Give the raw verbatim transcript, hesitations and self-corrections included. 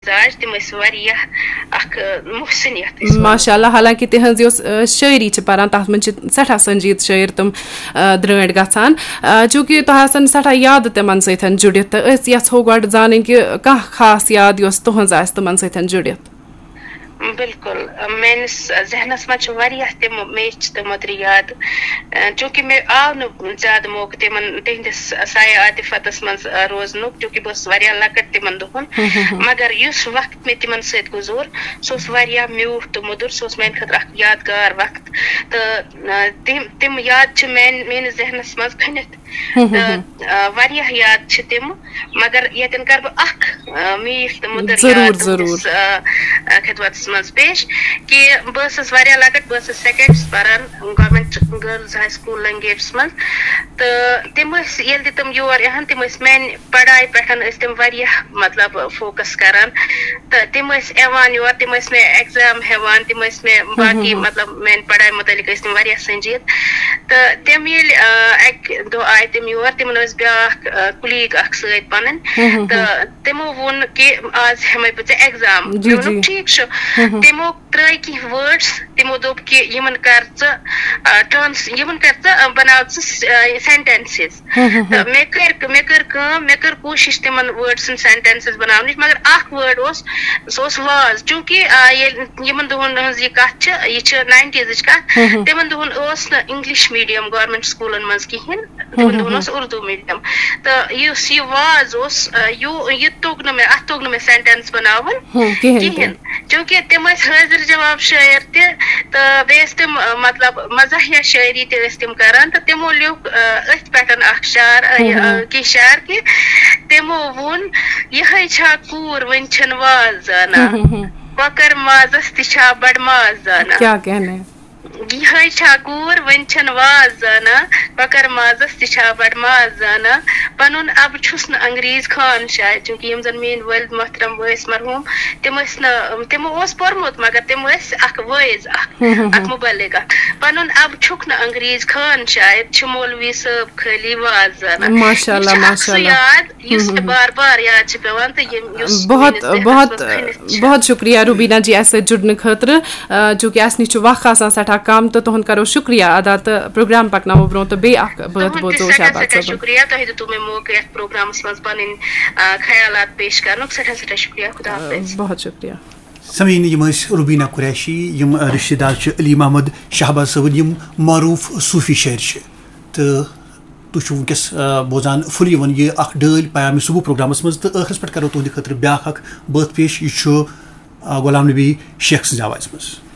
مزاج، تِم ٲسۍ واریاہ اکھ، آ، محسنیت ٲسۍ وَنان۔ ماشاء اللہ، حالانکہ تِہنٛز یۄس، آ، شٲعری چھِ پران، تَتھ منٛز چھِ سٮ۪ٹھاہ سنجیٖد شٲعر تِم، آ، درٛٲنٛٹھۍ گژھان۔ آ، چوٗنٛکہِ تۄہہِ آسَن سٮ۪ٹھاہ یادٕ تِمن سۭتۍ جُڑِتھ، تہٕ أسۍ یَژھو گۄڈٕ زانٕنۍ کہِ کانٛہہ خاص یاد یۄس تُہنٛز آسہِ تِمن سۭتۍ جُڑِتھ۔ بِلکُل، آ، میٲنِس ذہنس منٛز چھِ واریاہ تِم میچھِ تہٕ مٔدرِ یاد، آ، چوٗنٛکہِ مےٚ آو نہٕ زیادٕ موقعہٕ تِمن، تِہنٛدِس سایہِ عاطفتس منٛز، آ، روزنُک، چوٗنٛکہِ بہٕ ٲسٕس واریاہ لۄکٕٹ تِمن دۄہن۔ مگر یُس وقت مےٚ تِمن سۭتۍ گُزور، سُہ اوس واریاہ میوٗٹھ تہٕ مٔدُر، سُہ اوس میانہِ خٲطرٕ اکھ یادگار وقت۔ تہٕ، آ، تِم، تِم یاد چھِ میانہِ، میٲنِس ذہنس منٛز کھٔنِتھ۔ تہٕ، آ، واریاہ یاد چھِ تِم، مگر ییٚتٮ۪ن کَرٕ بہٕ اکھ، آ، میٖٹھ تہٕ مٔدٕر ضروٗر، یاد ضروٗر۔ تُہٕنٛدِس، آ، آ، خدمتس منٛز پیش، کہِ بہٕ ٲسٕس واریاہ لۄکٕٹ، بہٕ ٲسٕس سیکنڈس پران گورمنٹ گرلز ہاے سکول لنگیٹس منٛز۔ تہٕ تِم ٲسۍ، ییٚلہِ تہِ تِم یور یِہن، تِم ٲسۍ میانہِ پڑھایہِ پٮ۪ٹھ ٲسۍ تِم واریاہ، مطلب، فوکس کران۔ تہٕ تِم ٲسۍ یِوان یور، تِم ٲسۍ مےٚ ایگزام ہٮ۪وان، تِم ٲسۍ مےٚ باقٕے، مطلب، میانہِ پڑھایہِ مُتعلق ٲسۍ تِم واریاہ سنجیٖد۔ تہٕ تِم ییٚلہِ، آ، اکہِ دۄہ آیہِ تِم یور، تِمن ٲس بیٛاکھ، آ، کُلیٖگ اکھ سۭتۍ پنٕنۍ۔ تہٕ تِمو ووٚن کہِ آز ہٮ۪مے بہٕ ژےٚ ایگزام۔ جی، مےٚ ووٚنُکھ، جی۔ ٹھیٖک چھُ۔ تِمو ترٛٲے کینٛہہ وٲڈٕس، تِمو دوٚپ کہِ یِمن کر ژٕ، آ، ٹرانس-، یِمن کر ژٕ، آ، بناو ژٕ س-، آ، سینٹینسز۔ تہٕ مےٚ کٔر، مےٚ کٔر کٲم، مےٚ کٔر کوٗشِش تِمن وٲڈسن سینٹینسز بناونٕچ، مگر اکھ وٲڈ اوس، سُہ اوس واز۔ چوٗنٛکہِ، آ، ییٚلہِ یِمن دۄہن ہٕنٛز یہِ کتھ چھِ، یہِ چھِ ناینٹیٖزٕچ کتھ، تِمن دۄہن اوس نہٕ انگلش میٖڈیم گورمنٹ سکوٗلن منٛز کِہینۍ، تِمن دۄہن اوس اردو میٖڈیم۔ تہٕ یُس یہِ واز اوس، آ، یوٗ-، یہِ توٚگ نہٕ مےٚ، اتھ توٚگ نہٕ مےٚ سینٹینس بناوُن کِہینۍ تہِ۔ کِہینۍ۔ چوٗنٛکہِ تِم ٲسۍ حٲضِر جواب شٲعر تہِ، تہٕ بیٚیہِ ٲسۍ تِم، آ، مطلب، مزاحیہ شٲعری تہِ ٲسۍ تِم کران، تہٕ تِمو لیوٚکھ، آ، أتھۍ پٮ۪ٹھ اکھ شعر، آ، یہِ، آ، کینٛہہ شعر کہِ تِمو ووٚن، یِہے چھا کوٗر، وۄنۍ چھَن واز زانان؟ کۄکر مازس تہِ چھا بڑٕ ماز زانان؟ کیا کہنے۔ یِہے چھا کوٗر، وۄنۍ چھَن واز زانان؟ کۄکر مازس تہِ چھا بڑٕ ماز زانان؟ پنُن اب چھُس نہٕ انگریز خان شاید، چونکہ یِم زن میٲنۍ والد محترم ٲسۍ مرحوم، تِم ٲسۍ نہٕ، تِمو اوس پوٚرمُت، مگر تِم ٲسۍ اکھ وٲعظ اکھ، اکھ مبلغ اکھ۔ پنُن اب چھُکھ نہٕ انگریز خان شاید، چھِ مولوی صٲب خٲلی واز زانان۔ ماشاء اللہ، یہِ چھِ اکھ ماشاء سُہ اللہ۔ یاد، یُس مےٚ بار بار یاد چھِ پٮ۪وان تہٕ ییٚمۍ، یُس بہت، میٲنِس ذہنس بہت، منٛز کھٔنِتھ چھِ۔ بہت شُکریہ روبینا جی، اَسہِ سۭتۍ جُڑنہٕ خٲطرٕ۔ آ، چوٗنٛکہِ اَسہِ نِش چھُ وق آسان سٮ۪ٹھاہ کَم، تہٕ تُہُنٛد کَرو شُکریہ ادا، تہٕ پروگرام پَکناوو برٛونٛہہ، تہٕ بیٚیہِ اَکھ بٲتھ تُہُنٛد تہِ بوزو سٮ۪ٹھاہ، شہباز سٮ۪ٹھاہ صٲبُن۔ شُکریہ، تۄہہِ دیُتوٕ مےٚ موقعہٕ یَتھ پروگرامَس منٛز پَنٕنۍ، آ، خیالات پیش کَرنُک۔ سٮ۪ٹھاہ، سٮ۪ٹھاہ شُکریہ۔ خدا حافظ۔ بہت شُکریہ۔ سمیٖن، یِم ٲسۍ روبینا قریشی، یِم، آ، رِشتہٕ دار چھِ علی محمد شہباز صٲبٕنۍ، یِم معروٗف صوٗفی شٲعر چھِ۔ تہٕ تُہۍ چھِو وٕنکیٚس، آ، بوزان فُل یِوان یہِ اکھ ڈٲلۍ پیام صبح پروگرامَس منٛز، تہٕ ٲخرَس پٮ۪ٹھ کَرو تُہٕنٛدِ خٲطرٕ بیٛاکھ اکھ بٲتھ پیش۔ یہِ چھُ، آ، غلام نبی شیخ سٕنٛزِ آوازِ منٛز۔